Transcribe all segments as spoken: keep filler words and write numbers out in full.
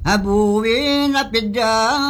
Abuin apidan.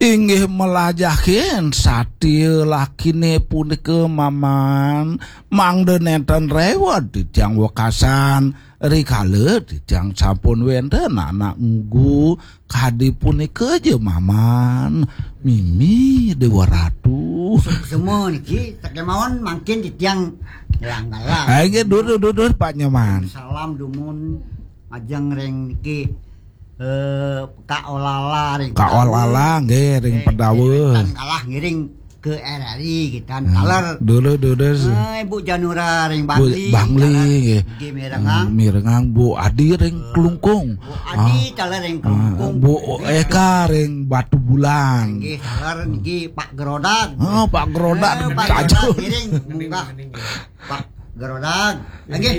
Inggih melajahin satia lakine punika maman, mangda nenten rewet titiang wekasan rikala titiang sampun wenten anak nggu kadi punika ja maman. Mimi Dewa Ratu. Semua niki, tak kemawon mangkin titiang ngelang-ngelang. Ayo, dudur, dudur, Pak Nyoman. Salam dumun ajeng ring niki, eh, Kak Olala ring Kak Olala nggih ring Pedawa. Kalah ngiring ke R R I kita taler. Dulu, dulu. Eh, Ibu Janura ring Bu Bangli. Bangli Taler. nggih. Nggih, mirengang. Mirengang Bu Adi ring Klungkung. Bu Adi taler ring Klungkung. Bu Eka ring Batu Bulan. Nggih, taler niki Pak Gerodag. Oh, Pak Gerodag Eh, Pak kaju. Gerodag ngiring munggah. Pak Gerodag. Nggih.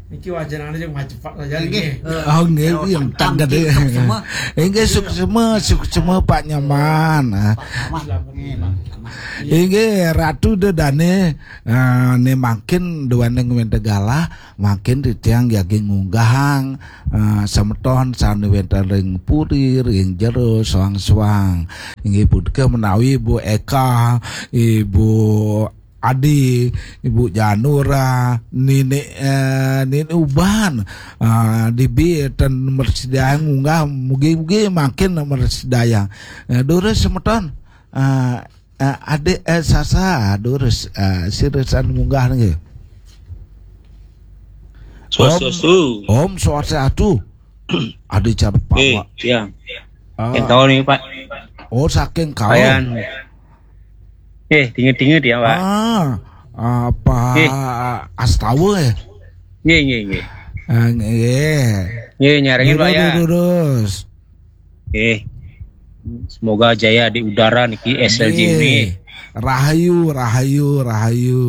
Niki wajanane yang macepak saja Nggih. nggih. Eh, Oh, nggih, Gerodag yang tangga nggih, deh. suksma. Inggih suksma, suksma Pak Nyoman. Ah. Pak Camat. Nggih, Pak Camat. Inggih Ratu Dedane, ah, ne mangkin duaning wente galah, mangkin titiang jagi ngunggahang, ah, semeton sane wenten ring puri, ring jero, soang-soang. Inggih punika menawi Ibu Eka, Ibu Adi, Ibu Janura, Nini, eh, Nini Uban, ah, dibi ten mresidayang ngunggah, mugi-mugi mangkin mresidayang. Eh, durus semeton, ah, eh, adik, eh, Sasa, durus, eh, sira sane munggah nggih. Swastiastu. Om Swastiastu. Adik cara Pak Eh, Wak. ya. Ah. Yang tahu nih, Pak. Oh, saking kau. Ayan. Eh, tinget-tinget ya, Pak. Ah, apa Eh. Astawa ya? Nggih, nggih, nggih. Ah, nggih. Nggih, nyarengin, Pak, ya. Durus. Nggih. Semoga jaya di udara niki S L J ini. Nggih. Rahayu, rahayu, rahayu.